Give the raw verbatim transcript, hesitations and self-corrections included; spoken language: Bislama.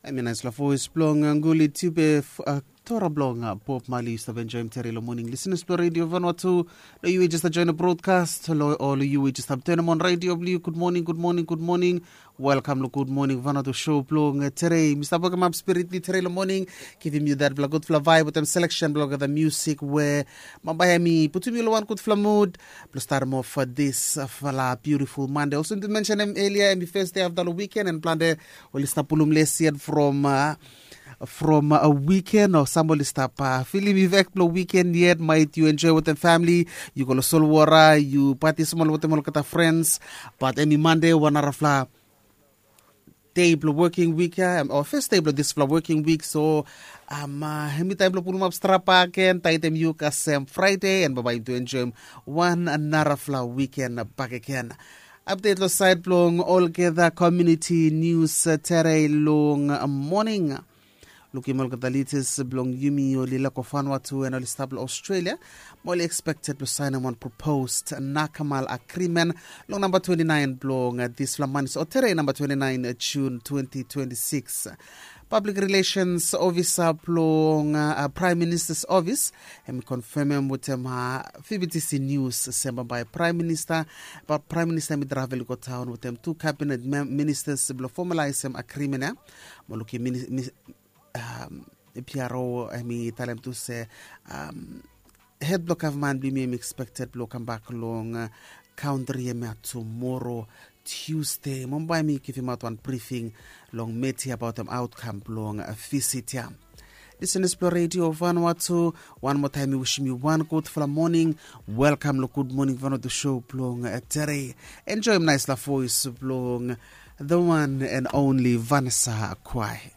Em i naispela voes bilong Guli Tiupe, Tora bilong Bob Marley. Yu stap enjoim tere long moning, listeners bilong Radio Vanuatu. Lo yu i just join a broadcast, lo ol yu i just stap turn on radio bilong yu. Good morning, good morning, good morning. Welcome lo Good Morning Vanuatu show bilong tere. Mi stap welcome up spirit bilong tere long moning, givim yu that bilong gudfala vibe wetem selection bilong the music we mambai em i putum yu lo one gudfala mood. Plus start off for this uh, fala beautiful Monday. Also to mention em earlier, em i first day of the weekend and plante oli stap pulum les yet from uh, from a weekend o sambol i stap uh, filim i vek bilong weekend yet, might you enjoy with the family, you go lo solwara, you party small with them olgeta friends. But em i Monday, one arafla day bilong working week ya, o first day bilong dispela working week. So um, uh, em i taim bilong pulumap strapa gen, taitem yu kasem Friday and babai to enjoy one another fla weekend back again. Update lo side bilong olgeta community news uh, tere long uh, morning. Lukim olgeta leaders bilong yumi oli lako Vanuatu and oli stap long Australia, mo oli expected bilong sign one proposed Nakamal agreement long number twenty-nine bilong uh, this fla month, o tere number twenty-nine uh, June twenty twenty-six. Public Relations Officer bilong uh, Prime Minister's Office em i confirmem wetem uh, V B T C News semba by Prime Minister. But Prime Minister em i travel go town wetem two cabinet ministers bilong formalize em agreement ya. Mo lukim um, P R O em i talem tu se um, head bilong gavman bilong mi em i expected bilong kam bak long uh, country em ya tomorrow Tuesday. Mo bai mi givim out one briefing long media about them outcome bilong uh, visit ya. Listeners bilong Radio Vanuatu, one more time mi wishim yu one good fala morning. Welcome lo Good Morning Vanuatu show bilong uh, tere. Enjoy nice la voice bilong the one and only Vanessa Kwai.